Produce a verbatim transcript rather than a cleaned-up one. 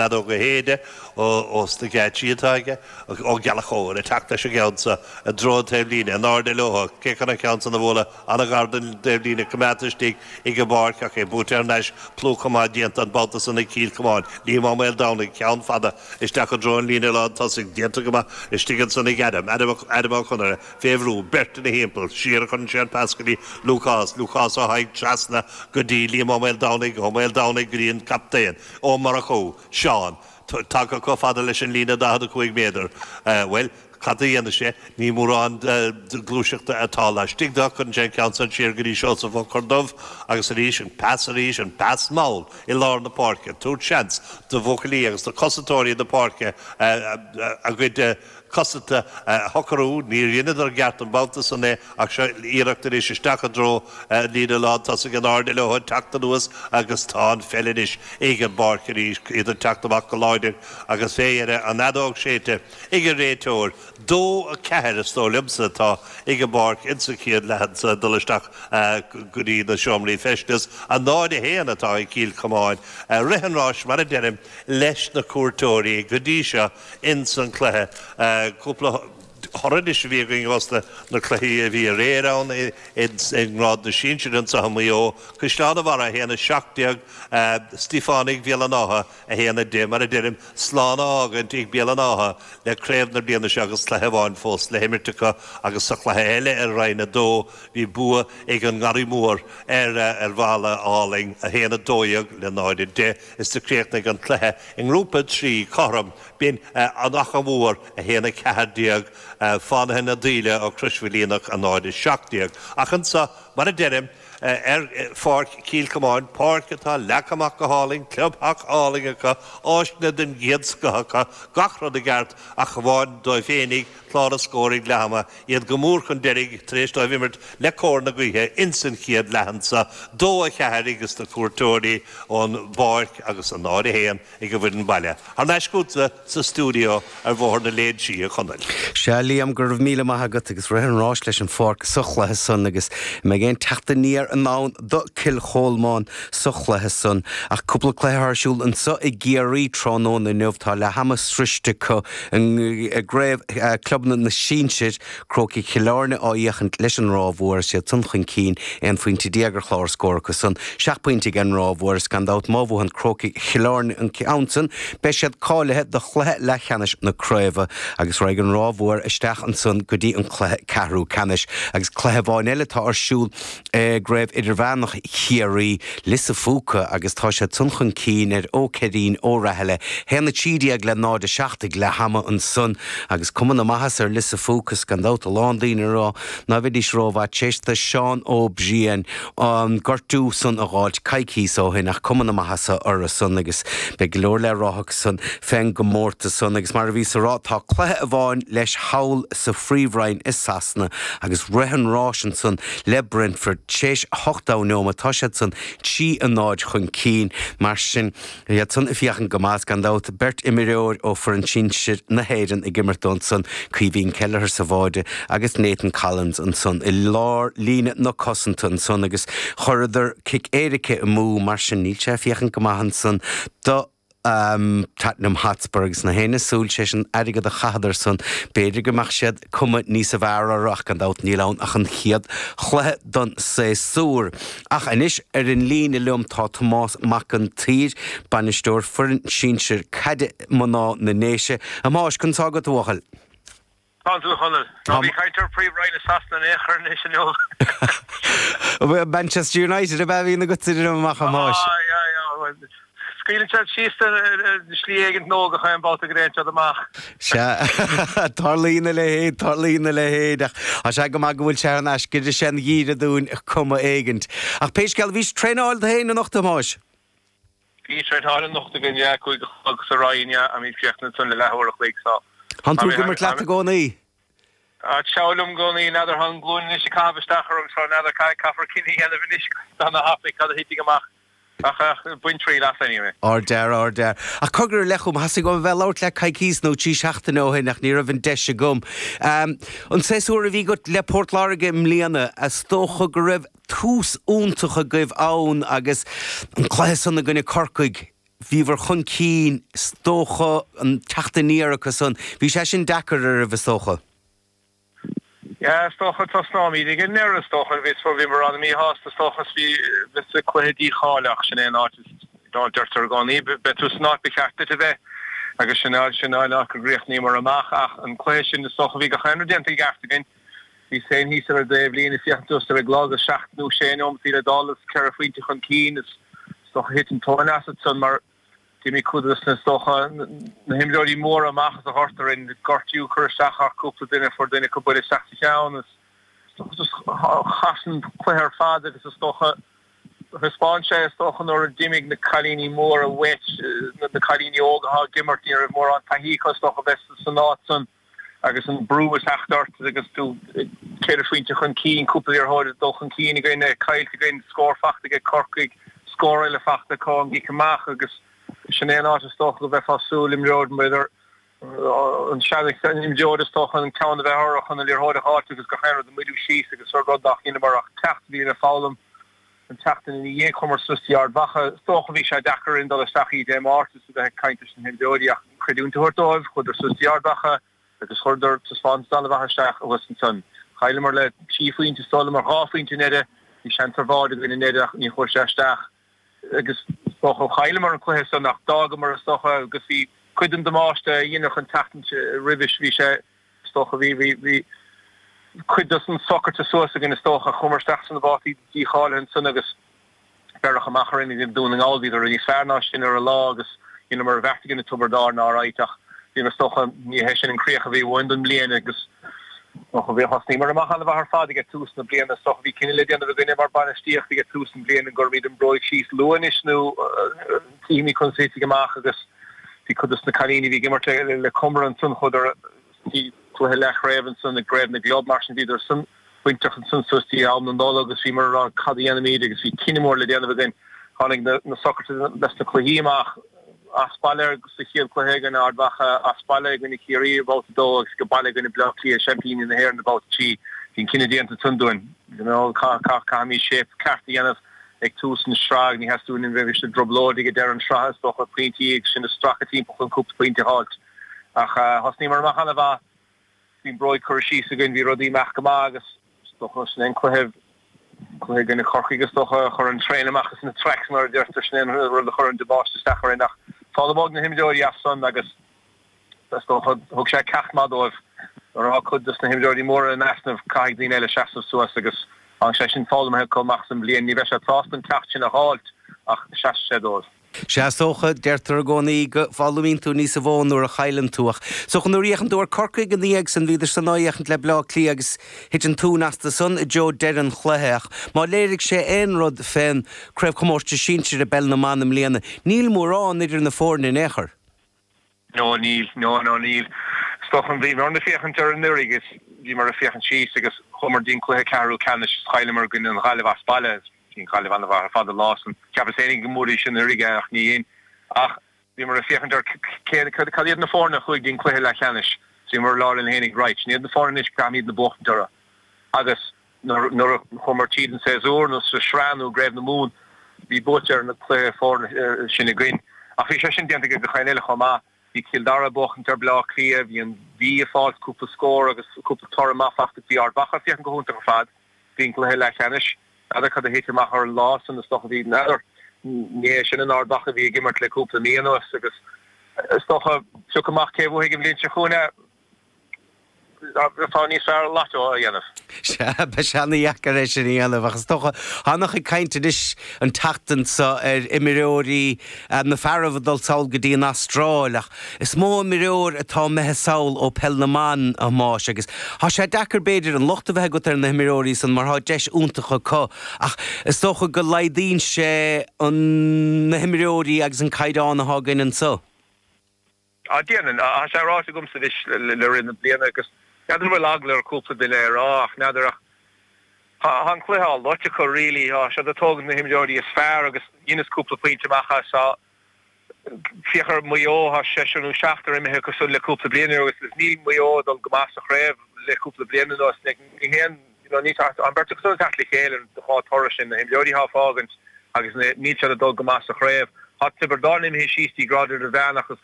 Fheadóg a shéideadh ós na geáitsí atá aige, Ó Gallchóir ag teacht leis an gceann seo i dtreo an taobhlíne, in airde leo, cé chun an ceann san a bhualadh an-ghar don taobhlíne, coimeádta istigh ag an bpáirc ach é buaite thar n-ais, plúchadh maith déanta an babhta san ag Cill Chomáin. Liam Ó Maoldomhnaigh, ceann fada isteach i dtreo an líne lán tosaigh, déanta go maith istigh ansan ag Adam, Adam Adam Ó Conaire, fé bhrú, beirt ina thimpeall, siar a chuireann sé an pas go dtí Lúcás, Lúcás Ó hAdhaigh trasna go dtí Liam Ó Maoldomhnaigh, Ó Maoldomhnaigh go dtí an captaen, Ó Murchú, Seán, tagtha chomh fada leis an líne daichead a cúig méadar. Bhuel, cad a dhéanfaidh sé? Ní mórán gluaiseachta atá laistigh de. Cuireann sé an ceann san siar go dtí Seosamh Ó Corrdubh agus arís an pas arís, an pas mall i lár na páirce, tabhairt seans do bhuachaillí agus do chosantóirí na páirce a gcuid cosanta a shocrú. Níor dheineadar i gceart an babhta san é ach seo iarracht anois isteach i dtreo an líne lán tosaigh in airde leo ag teacht anuas agus tá an pheil anois ag an bpáirc arís, iad ag teacht amach go láidir agus fé dheireadh an fheadóg séidte ag an réiteoir. Dó a ceathair is dóigh liomsa atá ag an bpáirc insa chéad leath anso ag dul isteach go dtí na seomraí feistis. A náid a haon atá ag Cill Chomáin. Rith an ráis mar a deirim leis na cuairteoirí go dtí seo ins an cluiche. Cúpla toradh anois a bhí againn ós na cluichí a bhí aréir ann i ngrád na sinsir anseo i Maigh Eo, Caisleán an Bharraigh a haon a seacht déag, Stíofánaigh Bhéal an Átha a haon a deich. Mar a deirim, slán á fhágaint ag Béal an Átha le craobh na bliana seo agus cluiche amháin fós le himirt acu agus sa chluiche eile i Roinn a dó bhí bua ag an nGarraí Mór ar Bhaile Álainn, a haon a dó dhéag le náid a deich is do chríochnaigh an cluiche i nGrúpa trí cothrom. B'in an Achadh Mhór, a haon a ceathair déag, Fánaithe na Daoile ó Chrois Mhaoilíonach, a náid a seacht déag. Ach anso, mar a deirim, ar Pháirc Chill Chomáin, páirc atá leagtha amach go hálainn, clubtheach álainn acu, áiseanna den gcéad scoth acu, gach rud i gceart ach amháin dóibh féinig, clár na scór ag leath ama, iad go mór chun deiridh tar éis dóibh imirt le cóir na gaoithe ins an chéad leath anso, dó a cheathair ages na cuairteoirí ón bpáirc agus a náid a haon ag an bhfoireann baile. Thar n-ais chugatsa sa stiúideo ar Bhóthar na Léinsí, a Chonaill. Sea, Liam, go raibh míle maith agat agus rith an ráis leis an pháirc sa chluiche san agus an mbeidh aon teacht aniar i ndán do Cill Cholmáin sa chluiche san. Ach cúpla cluiche ar siúl anso i gCiarraí tráthnóna inniu. Tá leath ama sroiste acu i gCraobh Clubanna na Sinsir. Crócaigh Chill Airne á fhiachaint leis an Ráth Mhór is iad san chun cinn, aon phointe déag ar chlár scór acu san, seacht bpointe ag an Ráth Mhór is gan dabht má bhuann Crócaigh Chill Airne an ceann san beidh siad cáilithe do chluiche leathcheannais na craoibhe agus raghaidh an Ráth Mhór isteach ansan go dtí an cluiche ceathrú ceannais. Agus cluiche amháin eile atá ar siúl i gCraobh Idirmheánach Chiarraí, Lios a' Phúca agus tá siad san chun cinn ar Ó Ceirín Ó Rathaille, haon a trí déag le náid a seacht ag leath ama ansan agus cuma na maitheasa ar Lios a' Phúca is gan dabht a lán daoine ag rá ná bheidís rómhaith tar éis do Seán Ó Briain an gortú san a dh'fháilt coicíos ó shin ach cuma na maitheasa orthu san agus beidh go leor le rá acu san fén gcomórtas san agus mar a bhíos a rá tá cluiche amháin leis thall sa Phríomhroinn i Sasana agus rith an ráis ansan le Brentford tar éis ochtó neomat tá siad san trí a náid chun cinn mar sin iad san ag féachaint go maith is gan dabht beirt imreoir ó foireann sinsir na hÉireann ag imirt dóibh ansan, Caoimhín Kelleher sa bháide agus Nathan Collins ansan i lár líne na cosanta ansan agus chuireadar cic éirice amú mar sin níl sé ag féachaint go maith ansan do Tottenham Hotspur agus gach éinne ag súil tar éis an airgead a chaitheadar san b'fhéidir go mbeadh siad cuma níosa bhfearr orthu ach gan dabht níl ann ach an chéad chluiche don séasúr. Ach anois ar an líne liom tá Tomás Mac an tSaoir, bainisteoir foireann sinsir caide mná na nDéise. A Thomáis, conas tá agat a bhuachaill? Tá tú, a Chonaill. Ná bí ag caint ar Phríomhroinn i Sasana in aon chor anois inniu. Manchester United ab ea a bhíonn agat titim amach, a Thomáis? Ah, yeah, yeah. Scaoileann siad síos de shlí éigint nó gach aon bhabhta go dtéann siad amach. Sea, tarlaíonn a leithéid, tarlaíonn a leithéid, ach tá sé go maith go bhfuil sé thar n-ais go dtí sé an gheimhreadh dúinn cuma éigint. Ach pé scéal, bhís traenáil tú féin anocht, a Thomáis? Bhí traenáil anocht againn, yeah, cúig a chlog sa Roinn, yeah, I mean críochnaíonn san le leathuair a chloig, so. Tánn tú ag imirt leat i gcónaí? Tá seal liom i gcónaí, n'fheadar, tá an glúin anois ag caitheamh isteach orm, so n'fheadar, caithfear cinneadh a dhéanamh anois tá na thapaidh, cad a thitfidh amach, ach bain triail as anyway. Ardfhear, ardfhear. Ach cogar i leith chugam, theastaigh uaim a bheith ag labhairt leat coicíos nó trí seachtaine ó shin ach ní raibh an deis agam. An séasúr a bhí agat le Port Láirge i mbliana, is dócha go raibh tús iontach agaibh ann agus an cluiche san i gcoinne Corcaigh, Bhíobhair chun cinn is dócha an teacht aniar acu san. Bhí sé sin deacair oraibh is dócha. Yeah, is dócha tosnóimid ag an ndeireadh is dócha bhí bhíomar an-mhíshásta is dócha is bhí bheith sa cluiche dícháilitheach sin é an áit is dá deirtear i gcónaí beidh tú san áit ba cheart duit a bheith agus sin áit sin áit go gcríochnaíomar amach ach an cluiche sin is dócha bhí gach aon rud déanta i gceart againn. Bhí féin thíos ar an dtaobhlíne ag féachaint suas ar an gclog agus seacht nó sé nóimeataí le dul is ceithre phointe chun cinn is is dócha thit an tóin asat san mar D'imigh cuid de na, is dócha, na himreoirí móra amach as an ghort orainn, gortú ag cur isteach ar chúpla duine, fuair duine acu buille isteach sa cheann is is dócha just chas an cluiche ar fad agus is dócha thaispeáin sé is dócha nuair a d'imigh na cailíní móra uait, na cailíní óga atá ag imirt, ní raibh mórán taithí acu is dócha bheith san áit san. Agus an brú ag teacht ort agus tú ceithre phointe chun cinn, cúpla liathróid ag dul chun cinn againn, caillte againn, scór fachta ag Corcaigh, scór eile fachta acu ón gcic amach agus sin é an áit is dócha go mbeifeá ag súil imreoir b'fhéidir an sean-imreoir is dócha an ceann a bheith orthu chun an liathróid a fháilt agus gach aon rud a mhoilliú síos agus rud nach ndeineamar ach ceacht a bhí le foghlaim an tseachtain ina dhiaidh chuamar suas dtí Ard Mhacha. Is dócha bhí sé deacair orainn dul isteach oíche Dé Máirt is a bheith ag caint leis na himreoirí ach creidiúint a thabhairt dóibh, chuadar suas dtí Ard Mhacha agus chuireadar taispeántas an-mhaith isteach thuas ansan. Chailleamar le trí phointe, is dóigh liom, ar dhá phointe i ndeireadh. Bhí seans ar bháide againn i ndeireadh ach ní chuaigh sé isteach agus is dócha chailleamar an cluiche san ach d'fhágamar is dócha agus bhí cuid den damáiste a dheineadh an tseachtain roimhis bhí sé is dócha bhí bhí bhí cuid dos na socruithe suas againn is dócha. Chuamar isteach sna babhtaí dícháilithe ansan agus beireadh amach orainn i nDún na nGall. Bhíodar níos fearr ná sinn ar an lá agus dheineamar a bheart againn i dTiobraid Árann alright ach bhíomar is dócha, ní hé sin an críoch a bhí uainn don mbliain agus is dócha bhí thosnaíomar amach an-mhaith ar fad ag tús na bliana. Is dócha bhí cinneadh le déanamh againne mar bainistíocht ag tús na bliana an gcuirfimid an bhróig síos luath anois nó cífimid conas a thitfidh amach agus bhí cuid dos na cailíní a bhí ag imirt le Comeragh ansan chuadar dtí cluiche leathchraobh ansan i gCraobh na gClub, mar sin bhíodar san bainteach ansan suas dtí am na Nollag agus bhíomar ag rá cad a dhéanfaimid agus bhí cinneadh mór le déanamh againn. Tháinig na socruithe leis na cluichí amach as baile sa chéad chluiche i gcoinne Ard Mhacha, as baile i gcoinne Chiarraí i mbabhta a dó agus go baile i gcoinne Bleá Cliath, seaimpíní na hÉireann i mbabhta trí. Bhí an cinneadh déanta ansan dúinn. You know, caithfimid shape ceart a dhéanamh ag tús na sraithe, ní theastaíonn uainn bheith i dtrioblóid ag deireadh an sraithe is dócha, pointí agus sinn ag stracadh timpeall chun cúpla pointe a fháilt. Ach thosnaíomar amach an-mhaith, bhí an bróig curtha síos againn, bhí rudaí ag imeacht go maith agus is dócha sin é an cluiche, cluiche i gcoinne Chorcaigh is dócha, a chuir an traein amach as na tracks mar a deirtear, sin é an rud a chuir an damáiste isteach orainn ach foghlaimeoidh na himreoirí as san agus is dócha thug sé ceacht maith dóibh nuair atá cuid dos na himreoirí móra in easnamh caithfidh daoine eile seasamh suas agus tá sé sin foghlamtha acu amach as an bhliain. Ní bheidh siad sásta an ceacht sin a dh'fháilt ach seasfaidh sé dóibh. Sea, is dócha, deirtear i gcónaí go bhfoghlaimíonn tú níosa mhó nuair a chailleann tú ach is dócha nuair a fhéachann tú ar Corcaigh ina dhiaidh san bhíodar san á fhéachaint le Bleá Cliath agus thit an tóin astu san i dtreo deireadh an chluiche ach má léirigh sé aon rud fén Craobhchomórtas Sinsir i bPeil na mBan i mbliana, níl mórán idir na foirne in aon chor. No, níl. No, no, níl. Is dócha, bhíomar ag féachaint ar anuraidh agus bhíomar ag féachaint síos agus chuamar dtí'n cluiche ceathrú ceannais is chailleamar i gcoinne an Ghaillimh as baile. Bhí an Ghaillimh an-mhaith ar fad an lá san. Cheapas féinig go mbuafaidís anuraidh é ach ní dhein. Ach bhíomar ag féachaint ar cé, cad iad na foirne a chuaigh dtí'n cluiche leathcheannais. So bhíomar ag rá linn fhéinig, right, sin iad na foirne anois caithfimidne buachtaint orthu. Agus nuair, nuair a chuamar tríd an séasúr nó sa sraith nó i gCraobh na Mumhan, bhí buaite ar na cluiche foirne sin againn. Ach bhí sé sin déanta ag gach aon eile chomh maith. Bhí Cill Dara ag buachaint ar Bleá Cliath, bhí an Mhí ag fáilt cúpla scór agus cúpla toradh maith fachta, bhí Ard Mhacha ag féachaint go hiontach ar fad dtí'n gcluiche leathcheannais. N'fheadar cad a thit amach ar an lá san, is dócha bhí, n'fheadar, ní hé sin an Ard Mhacha a bhí ag imirt le cúpla mí anuas agus is dócha, pioc amach cé a bhuafaidh an bhliain seo chugainn é, bheifeá níos fearr lotto a dhéanamh. Sea, beidh sé ana-dheacair é sin a dhéanamh ach is dócha, an-chuid caint anois an tseachtain seo ar imreoirí na fearaibh ag dul sall go dtí an Astráil ach is mó imreoir atá imithe sall ó Peil na mBan, a Thomáis, agus tá sé deacair b'fhéidir an locht a bheith agat ar na himreoirí san mar tá deis iontach acu ach is dócha go laghdaíonn sé an na himreoirí agus an caighdeán atá againn anso. Á déanann. Tá sé ráite agamsa anois le rith na bliana agus n'fheadar an bhfuil eagla ar chúpla duine é a rá ach n'fheadar ach tá an cluiche á loit acu really. Tá siad ag tógaint na himreoirí is fearr agus dheineas cúpla pointe amach as. Tá féach ar Maigh Eo, tá seisear nó seachtar imithe acu san le cúpla bliain anuas agus níl Maigh Eo ag dul go maith sa chraobh le cúpla bliain anuas. Ní haon, you know, ní tá an bheirt acu san ag teacht le chéile an dhá toradh sin, na himreoirí atá ag fágaint agus níl siad ag dul go maith sa chraobh. Tá Tiobraid Árann imithe síos dtí grád idirmheánach agus